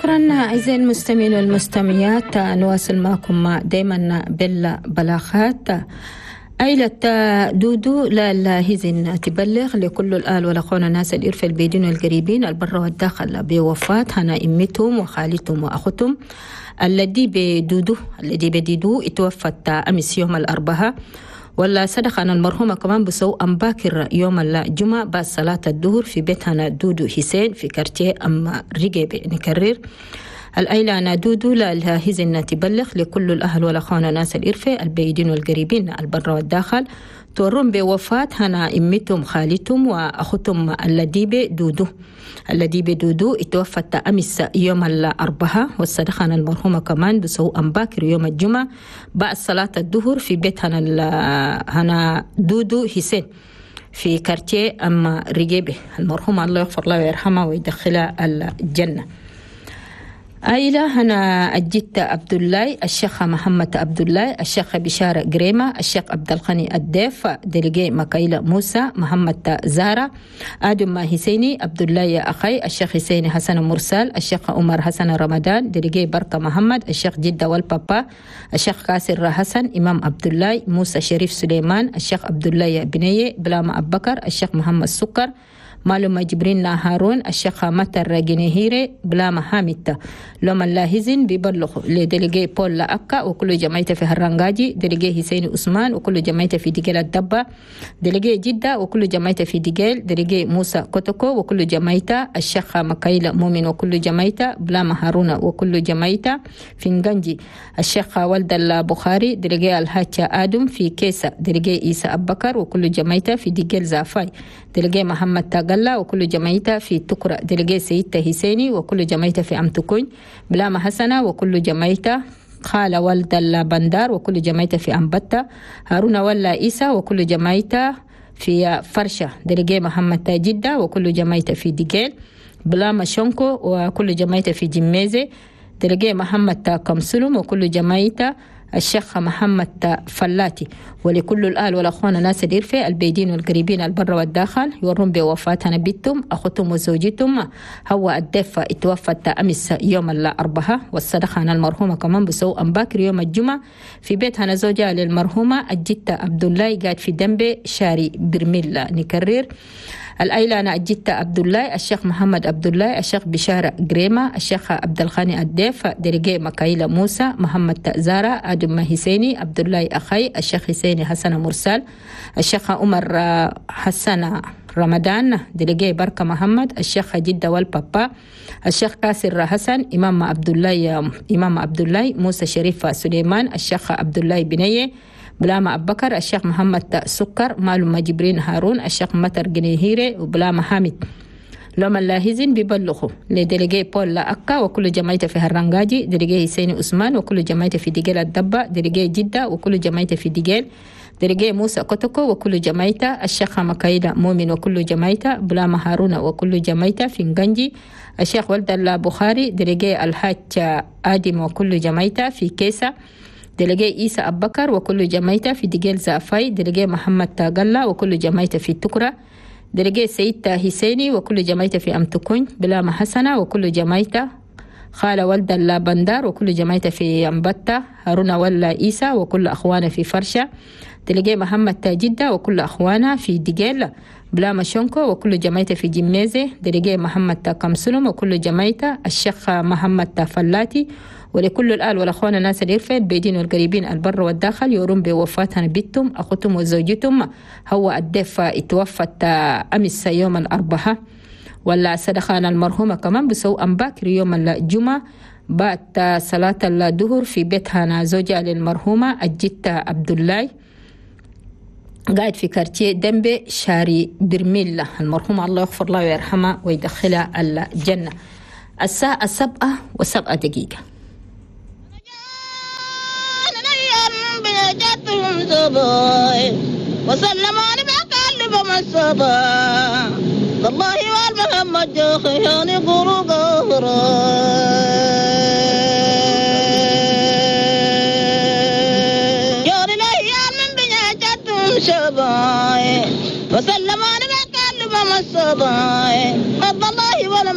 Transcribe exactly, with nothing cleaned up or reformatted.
شكرا أعزائي المستمعين والمستمعات، نواصل معكم دائما بالبلاغات. عائلة دودو لا لاهزن تبلغ لكل الآل والأخوان الناس الإرفة البيدين والقريبين البر والداخل بوفاة هنا إمتهم وخالتهم وأختهم الذي بدودو الذي بديدو اتوفت أمس يوم الأربعاء، ولا صدق أن المرحومة كمان بسو أم باكر يوم الجمعة بعد صلاة الظهر في بيتنا دودو حسين في كارتيه أم رجب. نكرر الأيلة أنا دودو لا لها تبلغ لكل الأهل والأخوان ناس الإرفة البعيدين والقريبين البر والداخل تورم بوفاة هنا إمتهم خالتهم وأختهم اللديبة دودو اللديبة دودو اتوفت أمس يوم الأربعاء، والصدقة المرحومة كمان بسو أم باكر يوم الجمعة بعد صلاة الظهر في بيت هنا هنا دودو حسين في كارتيه أم رجيبة. المرحومة الله يغفر لها ويرحمها ويدخلها الجنة. عائلة هنا الجدة عبد الله، الشيخ محمد عبد الله، الشيخ بشارة قريمة، الشيخ عبد الغني الديف، délégué مكايلة موسى، محمد زارة، آدم حسيني، عبد الله يا أخي، الشيخ حسيني حسن مرسال، الشيخ عمر حسن رمضان، délégué بركة محمد، الشيخ جدة والبابا، الشيخ كاسر حسن، إمام عبد الله، موسى شريف سليمان، الشيخ عبد الله يا بنية، بلاما أبو بكر، الشيخ محمد سكر، معلومة جبرين هارون، الشيخ متر جنيهيري، بلا حامد. لما اللاهزين بيبلغوا ل délégué بول أكا وكل جمعيته في هرنجاجي، délégué حسين عثمان وكل جمعيته في ديجيل الدبة، délégué جدة وكل جمعيته في ديجيل، délégué موسى كوتوكو وكل جمعيته، الشيخ مكايلة مؤمن وكل جمعيته، بلا هارون وكل جمعيته في نغنجي، الشيخ ولد البخاري، délégué الحاج آدم في كيسة، délégué عيسى أبكر وكل جمعيته في ديجيل زافاي، délégué محمد تاغلا وكل جمعيته في تكرة، délégué سيد حسيني وكل جمعيته في أمتكون، بلاما حسنة وكل جمعيته، خالة ولد البندار وكل جمعيته في أمبتة، هارون ولا إيسا وكل جمعيته في فرشة، délégué محمد جدة وكل جمعيته في ديجيل، بلاما شونكو وكل جمعيته في جميزة، délégué محمد كمسلم وكل جمعيته، الشيخ محمد فلاتي. ولكل الآل والأخوان ناس الإرفة البيدين والقريبين البر والداخل يورون بوفاة بنتهم أختهم وزوجتهم هو الدفة اتوفت أمس يوم الأربعاء، والصدقة عن المرحومة كمان بسو أم باكر يوم الجمعة في بيت هنا زوجها للمرحومة الجتة عبد الله قاعد في دنبي شاري برميل. نكرر الأيلة أنا الجتة عبد الله، الشيخ محمد عبد الله، الشيخ بشارة قريمة، الشيخ عبد الغني الديف، délégué مكايلة موسى، محمد تأزارة، آدم حسيني، عبد الله أخي، الشيخ حسيني حسن مرسال، الشيخ عمر حسن رمضان، délégué بركة محمد، الشيخ جدة والبابا، الشيخ كاسر حسن، إمام عبد الله إمام عبد الله، موسى شريف سليمان، الشيخ عبد الله بنية، بلاما أبو بكر، الشيخ محمد سكر، معلومة جبرين هارون، الشيخ متر جنيهيري، وبلاما حامد. لما اللاهزين بيبلغوا ل délégué بول أكا وكل جمعيته في هرنجاجي، délégué حسين عثمان وكل جمعيته في ديجيل الدبة، délégué جدة وكل جمعيته في ديجيل، délégué موسى كوتوكو وكل جمعيته، الشيخ مكايلة مؤمن وكل جمعيته، بلاما هارون وكل جمعيته في نغنجي، الشيخ ولد البخاري، délégué الحاج آدم وكل جمعيته في كيسة، délégué عيسى أبو بكر وكل جمعيته في ديجيل زافاي، délégué محمد تاغلا وكل جمعيته في تكرة، délégué سيد حسيني وكل جمعيته في أمتكون، بلاما حسنة وكل جمعيته، خالة ولد البندار وكل جمعيته في أمبتة، هارون ولا عيسى وكل أخوانا في فرشة، délégué محمد جدة وكل أخوانا في ديجيل، بلاما شونكو وكل جمعيته في جميزة، délégué محمد كمسلم وكل جمعيته، الشيخ محمد فلاتي. ولكل الآل والأخوان الناس الإرفة البيدين والقريبين البر والداخل يورون بوفاة بنتهم أختهم وزوجتهم هو الدفة اتوفت أمس يوم الأربعاء، ولا صدقة المرحومة كمان بسو أم باكر يوم الجمعة بعد صلاة الظهر في بيتها زوجها للمرحومة الجتة عبد الله قاعد في كارتيه دنبي شاري برميل. المرحومة الله يغفر له ويرحمه ويدخلها الجنة. الساعة السبعة وسبعة دقيقة. وسلم بقلب الصبا والله والمحمد جوخياني قرو قهرا.